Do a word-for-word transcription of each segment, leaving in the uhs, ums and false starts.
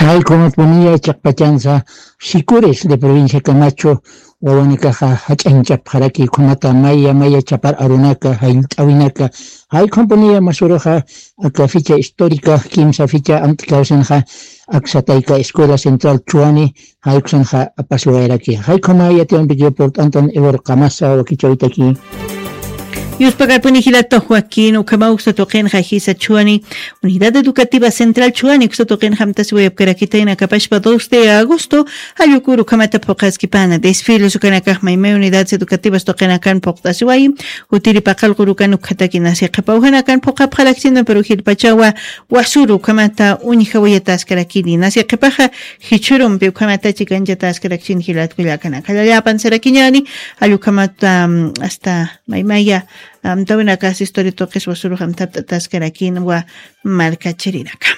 Jaykumat puniya chiqpachansa Sicures de provincia Camacho wawanakaxa jach'añchapxaraki, ukhamata maya maya chapar arunaka, jallt'awinaka, jaykhum puniya masuruxa aka ficha histórica kimsa ficha amt'kawsinxa aksatayka Escuela Central Chuani, jaykusanxa apasiwayaraki. Jaykhuma yatiwampikiw purt'antan Ever Qamasa wakichawitaki. Yuspakarpuni jilata Joaquín, ukhama uksa tuqinxa jisa Chuani, Unidad Educativa Central Chuani uksa tuqinxa amtasiwayapkarakitayna akapashpa dos de agosto, jallukuru ukhamata phuqaskipana, desfiles ukanakax maymay unidades educativas tuqinakan phuqtasiwayi, jutiri paqallquru ukan ukhataki nasi qhipa ujanakan phuqapxarakchina, pero jilpachawa wasuru ukhamata uñjawayataskarakini, nasi qhipaxa jichhurumpi ukhamata chikanchataskarakchini jilatkullakanaka. Jallallapan sarakiñani, jallukhamata, mm, hasta maymaya amtawinaka asistory tuqis wasurux amtapt'ataskarakinwa markachirinaka.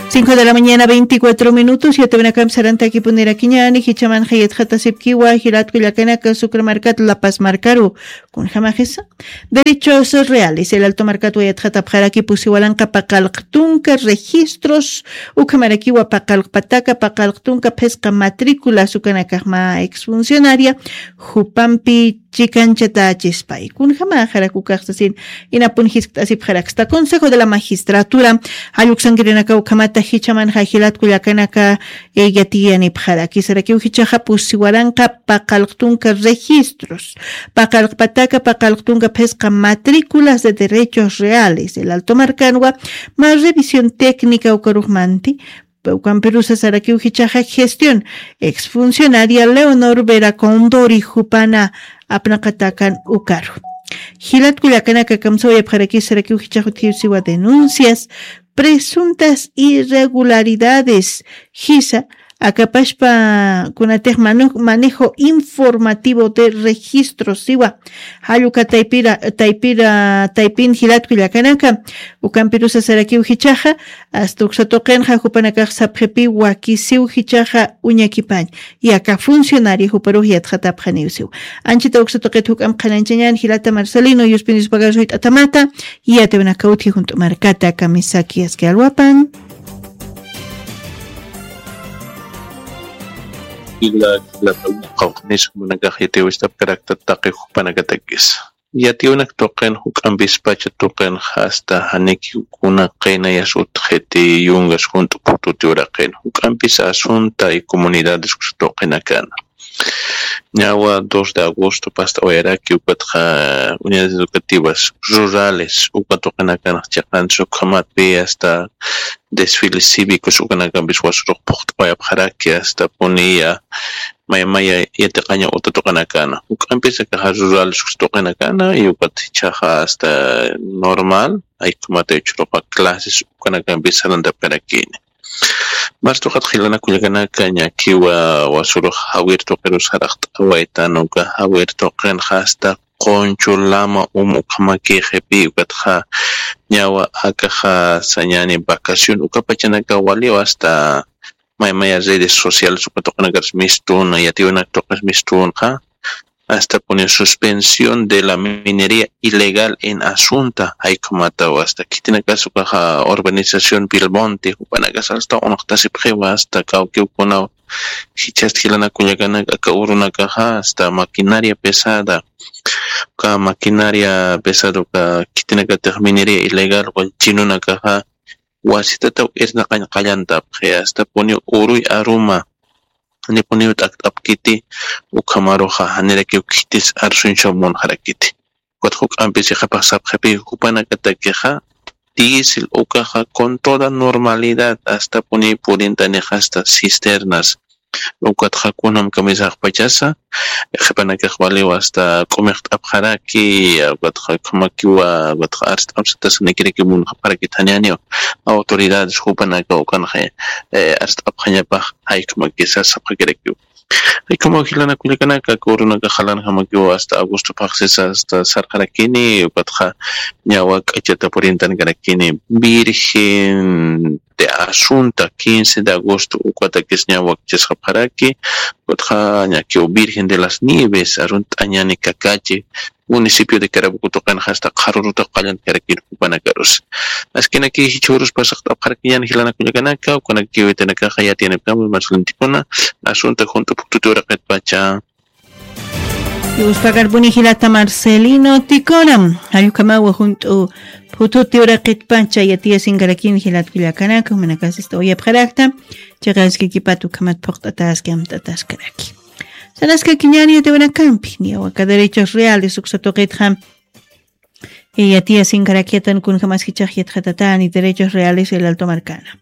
Cinco de la mañana, veinticuatro minutos, yatawinakam sarantakipunirakiñani, jichamanxa yatxatasipkiwa jilatkullakanaka Sucre markat La Paz markaru. Kunjamaxisa, derechos reales, el Alto markatwa yatxatapxaraki pusi waranqa paqallq tunka registros, ukhamarakiwa paqallq pataka, paqallq tunka phisqa matrículas ukanakaxma exfuncionaria jupampi chikanchatachispay. Kunjamaxarak ukaxsasin inapun jiskt'asipxaraksta. Consejo de la Magistratura, jalluksankirinaka ukhamata jichamanxa jilatkullakanaka, eh, yatiyanipxaraki. Sarakiw jichaxa pusi waranqa paqallq tunka registros, paqallq pataka, paqallq tunka phisqa matrículas de derechos reales, el Alto markanwa, ma revisión técnica ukaruxmanti, Ukampirusa sarakiw jichaxa gestión exfuncionaria Leonor Vera Condori jupana apnaqatakan ukaru. Jilatkullakanaka kamsawayapxarakis sarakiw jichax utjiw siwa denuncias, presuntas irregularidades, jisa, akapashpa kunatix manu-, manejo informativo de registro siwa. Jalluka taypira, taypira, taypin jilatkullakanaka, ukampirusa sarakiw jichaxa, hasta uksa tuqinxa jupanakax sapxipi wakisiw jichaxa uñakipañ, yaka funcionario juparux yatxatapxaniw siw. Anchita uksa tuqit juk'am qhanañchañan jilata Marcelino, yuspin yuspagar suyt'atamata, yatawinaka utji junt'u markata kamisaki aski alwapan. Jila, jila, qawqnis jumanakax yatiwistapkarakta taqi jupanakatakis. Yatiyunak tuqin juk'ampispacha tuqin hasta janiki kuna qinayas utjiti yungas junt'u phututi uraqin juk'ampis asunta y comunidades uksa tuqinakana. Ñawa dos de agosto past'awayaraki ukatxa unidades educativas rurales uka tuqinakanx chiqansi ukhamatpi hasta desfiles cívicos ukanakampis wasirux phuqt'awayapxaraki hasta puniya maymaya yatiqaña uta tuqinakana. Juk'ampis akaxa rurales uksa tuqinakana y ukat jichhaxa hasta normal, aykhumatay uchuruqa clases ukanakampis sarantapkarakini. Mas tuqat qhilanakullakanaka ñakiwa wasirux jawir tuqirus saraqt'awaytan uka jawir tuqinxa hasta Qunchu Lama Um ukhamakixi pi ukatxa ñawa akaxa sañani vacación ukapachanaka waliw hasta maymaya redes sociales uka tuqinakars mistuna yatiwinaka tuqis mistunxa hasta puni suspensión de la minería ilegal en Asunta aykhumataw hasta khitinakas ukaxa urbanización Bilmonte jupanakas hasta unaqtasipxiwa hasta kawkiwkunaw jichhasta jilanakullakanaka aka urunakaxa hasta maquinaria pesada uka maquinaria pesada uka khitinakatix minería ilegal wal chinunakaxa wasitataw irnaqañ qallantapxi hasta puni uruy aruma janipuniw t'akt'apkiti ukhamaruxa janirakiw khitis arsuñchaw munxarakiti. Ukat juk'ampis iqapax sapxipi jupanakatakixa diésel ukaxa con toda normalidad hasta puni purintanix hasta cisternas ukatxa kunam kamisaxpachasa qhipanakax waliw hasta k'umixt'apxaraki ukatxa ukhamakiwa ukatxa arst'apsatasanikiraki munxapxarakit janianiw autoridades jupanaka ukanxa arst'apxañapax jaykhumakisa sapxakirakiw. Jaykhumaw jilanakullakanaka aka urunaka jalanjamakiw hasta agosto phaxsisa hasta sarqarakini ukatxa ñawa k'achata purintankarakini virgen de asunta quince de agosto ukatakis ña wakichasqapxaraki. Ukatxa ñakiw virgen de las nieves arunt'añani kakachi municipio de Carabuco tuqinxa asta qharurutaw qallantkarakir jupanakarus. Askinaki jichhurus pasaqt'apxarakiñani jilanakullakanaka ukanakiw itanakaxa yatiyanipkama marcelintikuna. Asunta junt'u phututi uraqitpacha. Yuspakarpuni jilata Marcelino Ticona. Jallukamawa junt'u phututi uraqitpacha yatiyasinkarakin jilatkullakanaka jumanakasista uyapxarakta. Chiqaskakipata ukhamat phuqt'ataski amt'ataskaraki. Sanaskakiñani yatiwanakampi niyawaka derechos reales uksatuqitxa. Yatiyasinkarakiyatan kunjamaskichax yatxatatani derechos reales el alto markana.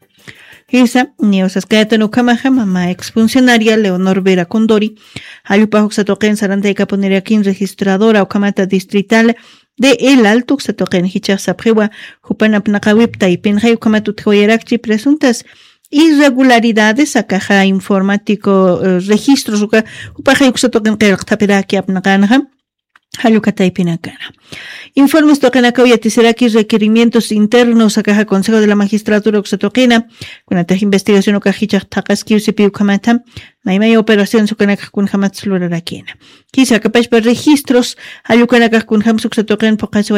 Jisa niyawasaskayatan ukhamaxa mama exfuncionaria Leonor Vera Condori. Jallupax uksatuqin sarantaykapunirakïn registradora ukhamata distrital de el alto uksatuqin jichax sapxiwa. Jupanapnaqawip taypinxay ukhamat utjawayarakchi presuntas irregularidades akaxa informático registros uka jupaxay uksatuqin qillqtapiraki apnaqanxa. Jallukataypinakana informes tuqinakaw yatisiraki requerimientos internos akaxa consejo de la magistratura uksatuqina. Kunatax investigación ukax jichax thaqaskiw sipi ukhamata maymaya operaciones ukanakax kunjamatsa lurarakina. Kisa akapachpa registros jallukanakax kunjamsa uksatuqin phuqhasi.